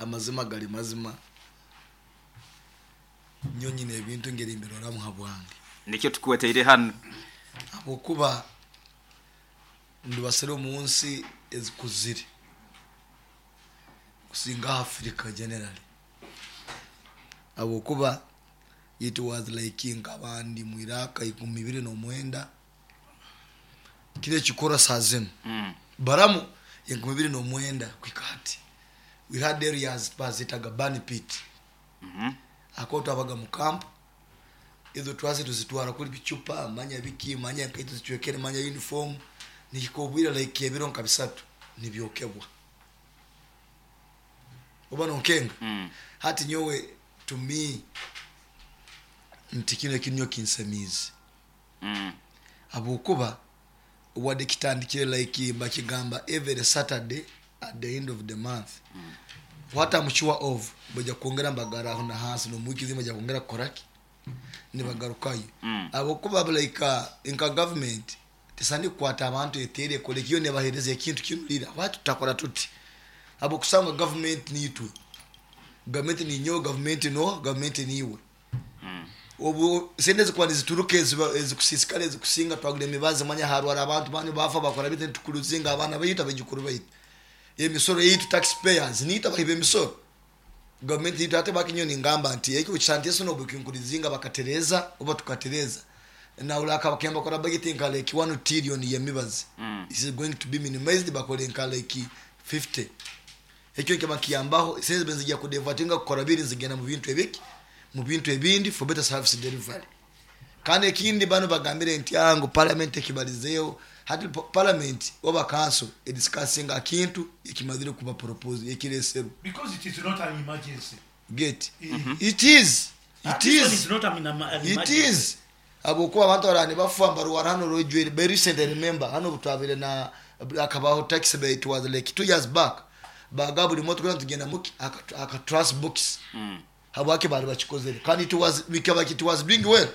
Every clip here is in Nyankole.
Amazima gari mazima, nyowe nyine ebintu engeri mbiroramu habwange. Nikyo tukweteire hanu. Habwokuba ndibasire omu nsi ezikuzire kusinga Africa generally. Habwokuba it was like nkaba ndi mu Iraq 2009, kiro ekikorwa saaha zinu baramu 2009 kuhika hati. We had areas bazetaga burn pit. Ahakuba twabaga mu camp, ezo twaza tuzitwara kuri bicupa, manya biki, manya enkaito zicwekere, manya uniform, nihika obwire like ebiro nka bisatu nibyokebwa. Oba nonkenga? Hati nyowe to me nti kinu eki nyowe kinsemiize. Habwokuba wadde kitandikire like bakigamba every Saturday at the end of the month. What I'm sure of baija kwongera nibagara aho na hansi n'omu wiiki ezindi baija kwongera kukora ki? Nibagarukayo. Habwokuba like nka government tesaine kukwata abantu eteere ekore ki yo nebahereza ekintu kinurire. Why tutakora tuti? Habwokusanga government niitwe. Government ninyowe, government noha, government niiwe. Obu sente ezikuba nizituruka ezikusiisikara ezikusinga twagura emibazi manya harwara abantu banu bafa bakora bita nitukuruzinga abaana baitu abaijukuru baitu. Emisoro yaitu tax payers niitwe abahi b'emisoro. Gavumenti yaitu hati baki nyowe ningamba nti ekyo kisa nti obu kinkuruzinga bakatereeza oba tukatereeza nahurira bakaba nibakora budget nka like 1 trillion y'emibazi is going to be minimized bakore nka like 50. Ekyo nikiba nikiyambaho esente ziba nizija kudevatinga kukora biri nizigenda mu bintu ebiki mu bintu ebindi for better service delivery. Kandi ekindi banu bagambire nti ah ngu parliament ekibarizeho hati parliament oba council ediscussinga aha kintu ekimazire kuba propose ekireserwe. Because it is not an emergency. Get it is it This one is is not an an it emergency. is habwokuba abantu baraba nibafa nibarwara hanu orwejwire by recent I remember hanu obutwabire na hakabaho tax bill it was like 2 years back bagaba buri motoka yoona tugenda muki aka trash box habwaki bari bakikozere kandi it was bikaba it was doing well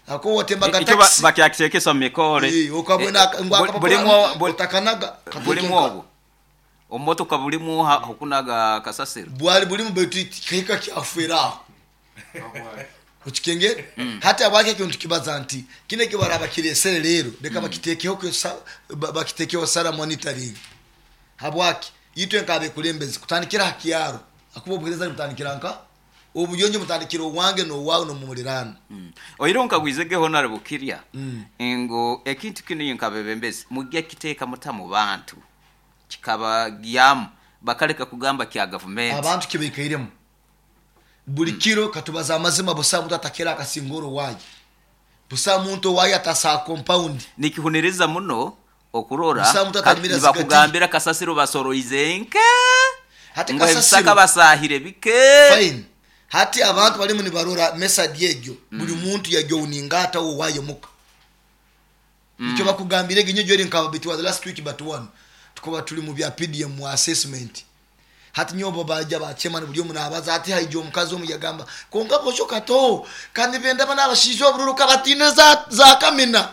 ahakuba watembaga Ekyo taxi bakyakitekesa omu mikoore. Eh, okabona ngu akapapura Bulimu obu- otakanaga bulimu kateeke obwo omumotoka bulimu ha- okunaga kasasiro. Bwari burimu baitu kikahika kyafera aho. Okikengere? Hati habwaki ekyo nitukibaza nti kinu eki baraba bakiresere rero reka bakitekeho bakitekeho sara monitoring. Habwaki? Itwe nk'abekulembezi kutandikira ha kyaro ahakuba obuhereza nibutandikira nka obuyonjo butandikira owange n'owawe n'omumuliraano. Oihireho nkagwize ge Honourable Kirya ngu ekintu kinu inywe nk'abebembezi mugye kiteeka muta mu bantu kikabagyamu bakaleka kugamba kya gavumenti. Abantu kibaikairemu buri kiro katubaze amazima busaho muntu atakera akasingora owaye busaho muntu owaye atasa aha compound. Nikihuniriza muno okurora Busaho muntu atarimire zigati. nibakugambira kasasiro basoroize nke Hati ngu ebisaka kasasiro basaahire bike. Fine hati abantu barimu nibarora message egyo buri muntu yagyowninga ata owaye muka. Nikyo bakugambire egi nyowe eri nka it was last week but one tukaba turi mu bya PDM mu assessment. Hati nyowe obu baija ba chairman buri omwe nabaza hati haija omukazi omwe yagamba kwonka bosho kato ka nibenda banu abashaija obururu ka bataine za za kamina.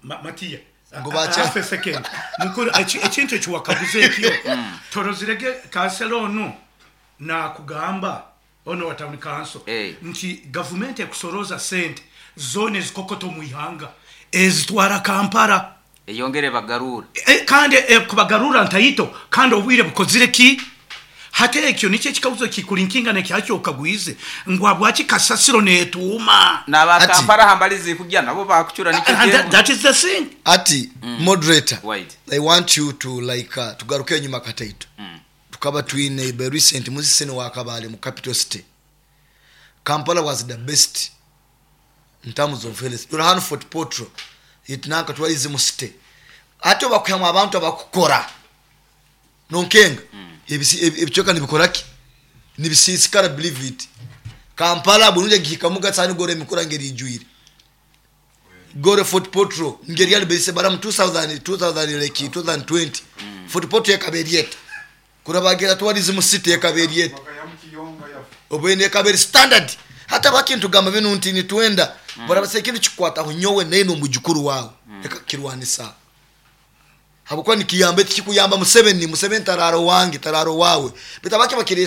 Matiya, Ngu ba half a second. Mukuru, ekintu eki wakaguza ekyo, torozire ge kansela onu nakugamba, onu owa town council, nti gavumenti ekusorooza sente zoona ezikokota omu ihanga ezitwara Kampala. Eyongere ebagaruure. Kandi ekubagarurra ntaito kandi obwire bukozire ki? Hati ekyo nikyo ekikaguzo ekikulinkinga n'ekya kyokagwize ngu habwaki kasasiro netuuma? N'aba Hati. Kampala aha mbari zikugya nabo bakucura nikyo And kyemwe. that is the thing. Hati moderator, Wait. I want you to like tugaruke enyima kataito. Tukaba twine by recent musisi wa Kabale mu capital city. Kampala was the best in terms of health. Dora hanu Fort Portal it nanka twarize city. Hati obakwihamu abantu abakukora nonkenga ebicweka nibikora ki? Nibisiisikara believe it. Kampala burungi egihikamu gatsani gore emikura ngeri ijwire. Gore Fort Portal ngeri yali berise baramu 2000 2000 like 2020 Fort Portal ekaba eri eta. Kurabagira tourism city ekaba eri eta. Obwene ekaba eri standard. Hati abakintu gamba binu nti nitwenda barabasa ekintu kikukwataho nyowe naine omujukuru wawe reka kukirwanisa. Habwokuba nikiyamba tikikuyamba Museveni, Museveni taraara owange, taraara owawe. Baitu abake bakiresa.